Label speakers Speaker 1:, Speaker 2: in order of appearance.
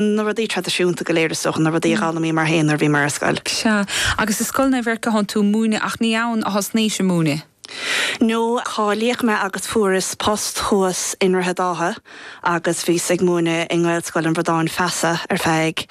Speaker 1: Na rudaí traidisiúnta go léir is dócha, na rudaí a d'fhoghlaimíomar féin nuair a bhíomar ar scoil.
Speaker 2: Sea. Agus i Scoil Naomh Eirce a thánn tú ag múineadh ach ní ann a thosnaís ag múineadh?
Speaker 1: No, cáilíodh mé agus fuaireas post thuas i nDroichead Átha agus bhíos ag múineadh i nGaelscoil an Bhradáin Feasa ar feadh.